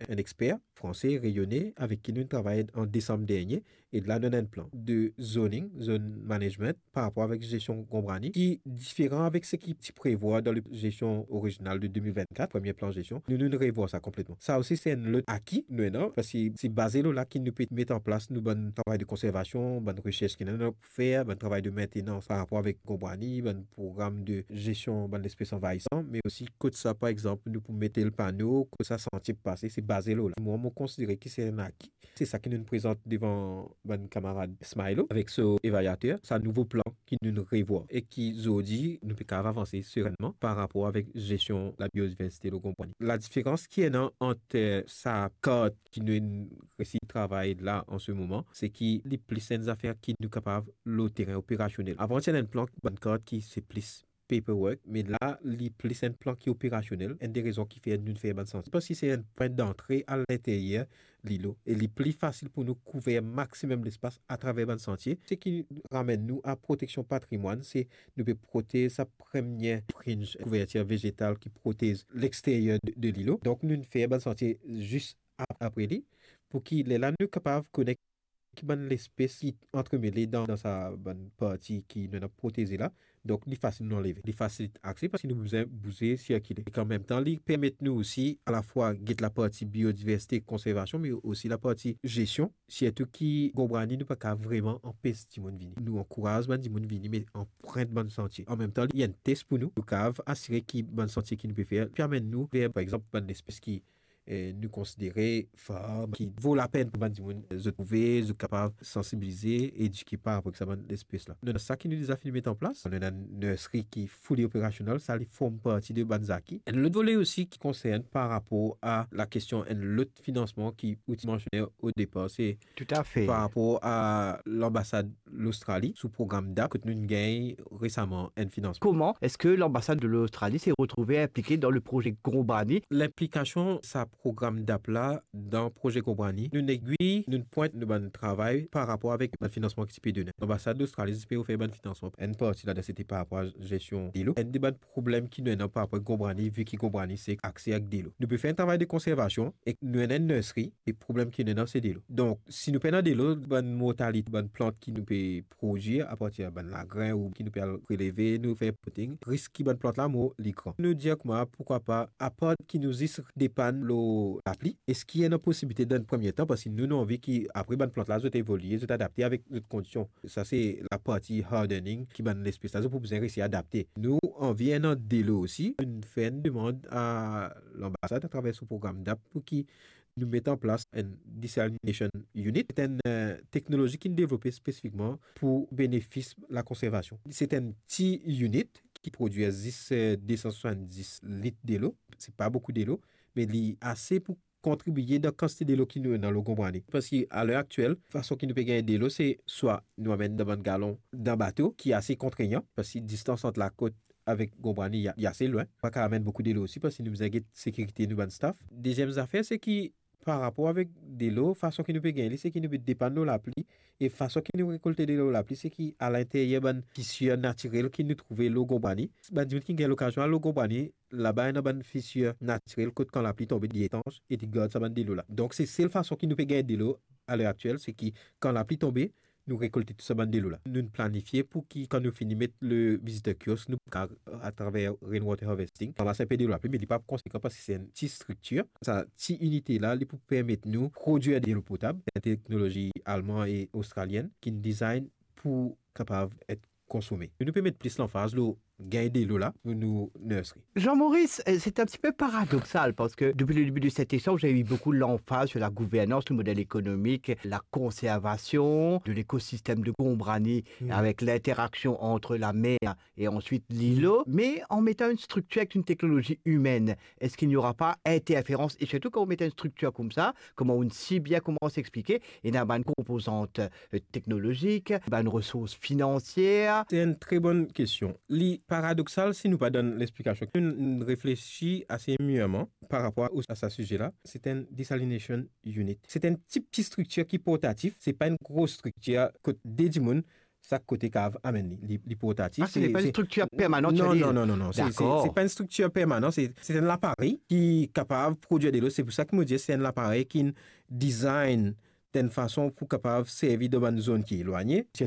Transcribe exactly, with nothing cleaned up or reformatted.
enn exper franse, reyone, avek ki nou travay an desam dernie, e la nou ena enn plan de zoning, zone management, par rapor avek zestion Gonbrani, ki diferan avek seki ti prevwa dan le zestion orizinal de de mil vennkat, premie plan zestion. Nou, nou revwar sa konpletman. Sa osi, se enn lot aki nou ena, parski se baze lor la ki nou pe met an plas nou bann travay de konservasion, bann resers ki nou ena pou fer, bann travay de maintenance par rapor avek Gonbrani, bann program de zestion bann lespes anvayisan, me osi kot sa, par exanp, nou pou met le pano, kot sa santie pou pase, se baze lor la. Mwa, mo konsidere ki se enn aki. Se sa ki nou prezant devan bann kamarad Smilo avek so evalyater, sa nouvo plan ki nou revwar e ki zordi nou pe kapav avanse serennman par rapor avek zestion labiodiversite lor Gonbrani. Ladiferans ki ena ant, eh, sa kart ki nou resi travay la an se moman, se ki li plis enn zafer ki nou kapav lor terin operasionel. Avan ti ena enn plan, bann kart ki se plis paperwork, me la, li plis enn plan ki operasionel. Enn de rezon ki fer nou fer bann santie, parski se enn pwin dantre a linteryer lilo, e li pli fasil pou nou kouver maximum lespas atraver bann santie. Seki ramenn nou a proteksion patrimwann, se nou pe protez sa premie fringe, kouvertir vezetal ki protez lexteryer de, de lilo. Donk, nou fer bann santie zis ap-, apre li, pou ki lerla nou kapav konek ki bann lespes ki antremele dan, dan sa bann parti ki nou ena proteze la. Donk, li fasil nou anleve. Li fasil akse parski nou bizin bouze, sirkile. Ek an mem tan, li permet nou osi alafwa get laparti biodiversite, konservasion, me osi laparti zestion. Sirtou ki Gonbrani, nou pa kapav vreman anpes dimoun vini. Nou ankouraz bann dimoun vini, me anprint bann santie. An mem tan, li enn tes pou nou. Nou kapav asire ki bann santie ki nou pe fer pe amenn nou ver, par exanp, bann lespes ki eh, nou konsidere far, ki vo lapenn pou bann dimoun, eh, zot trouve, zot kapav sansibilize, edike par rapor ek sa bann lespes la. Nou ena sa ki nou deza fini met an plas. Nou ena enn nursery ki fully operational, sa li form parti de bann zaki. Enn lot vole osi ki konsern par rapor a lakestion enn lot finansman ki ou ti mansione o depar, se Toutafe. Par rapor a lanbasad Lostrali sou program dap, kot nou gagn resaman enn finansman. Kouma eski lanbasad de Lostrali ti retrouve inplike dan le proze Gonbrani? Linplikasion sa program dap la dan proze Gonbrani, nou ena wi, nou pwint nou bann travay par rapor avek bann finansman ki ti pe done. Lanbasad Lostrali ti pe ofer bann finansman. Enn parti ladan, se ti par rapor a zestion delo. Enn de bann problem ki nou ena par rapor Gonbrani, vi ki Gonbrani se akse avek delo. Nou pe fer enn travay de konservasion ek nou ena enn nursery, e problem ki nou ena se delo. Donk, si nou pena delo, bann mortalite, bann plant ki nou pe prodwir apartir bann lagren ou ki nou pe al preleve, nou fer potting, risk ki bann plant la mor, li gran. Nou dir kouma, pourkwa pa, apar ki nou zis depann lor lapli, eski ena posibilite dan enn premie tan, parski nou, nou anvi ki apre bann plant la, zot evolie, zot adapte avek zot kondision. Sa se laparti hardening ki bann lespes la, zot pou bizin resi adapte. Nou anvi ena delo osi. Nou fer enn demann a lanbasad atraver so program dap pou ki nou met an plas enn desalination unit. Se enn, eh, teknolozi ki devlope spesifikman pou benefis lakonservasion. Se enn ti unit ki prodwir zis, eh, de san swasanndis lit delo. Se pa boukou delo, me li ase pou kontribie dan kantite delo ki nou ena lor Gonbrani. Parski a ler aktiel, fason ki nou pe gagn delo, se swa nou amenn dan bann galon dan bato, ki ase kontregnan, parski distans ant lakot avek Gonbrani, li, li ase lwin. Pa kapav amenn boukou delo osi, parski nou bizin get sekirite nou bann staff. Deziem zafer, se ki par rapor avek delo, fason ki nou pe gagn li, se ki nou pe depann lor lapli, e fason ki nou rekolte delo lor lapli, se ki alinteryer bann fisir natirel ki nou trouve lor Gonbrani. Bann dimoun ki gagn lokazion al lor Gonbrani, laba ena bann fisir natirel kot kan lapli tonbe, li etans e li gard sa bann delo la. Donk, se sel fason ki nou pe gagn delo a ler aktiel, se ki kan lapli tonbe, nou rekolte tou sa bann delo la. Nou planifie pou ki, kan nou fini met le visitor kiosk, nou kapav, atraver rainwater harvesting, ranmas inpe delo lapli, me li pa konsekan parski se enn ti striktir. Sa ti inite la, li pou permet nou prodwir delo potab, enn teknolozi alman e ostralienn ki design pou kapav et konsome. Nou pe met plis lanfaz lor gagn delo la pou nou nursery. Jean-Maurice, euh, c'est un petit peu paradoxal parce que depuis le début de cet échange, il y a eu beaucoup l'emphase sur la gouvernance, le modèle économique, la conservation de l'écosystème de Gonbrani avec l'interaction entre la mer et ensuite l'îlot, mais en mettant une structure avec une technologie humaine. Est-ce qu'il n'y aura pas interférence? Et surtout quand vous mettez une structure comme ça, kouma ou si bien koumans explike, ena bann konpozant, euh, teknolozik, bann resours finansier. Se enn tre bonn kestion. Li paradoxal si nou pa donn lexplikasion. Nou, nou reflesi ase mirman par rapor a, a sa size la. Se enn desalination unit. Se enn ti, ti striktir ki portatif. Se pa enn gro striktir kot de dimoun sak kote kapav amenn li, li, li portatif. Ah, se pa enn striktir permanan, non, non, non, non, non. Se, se, se pa enn striktir permanan, se, se enn laparey ki kapav prodwir delo. Se pou sa ki mo dir se enn laparey ki design dan enn fason pou kapav servi dan bann zone ki elwagne.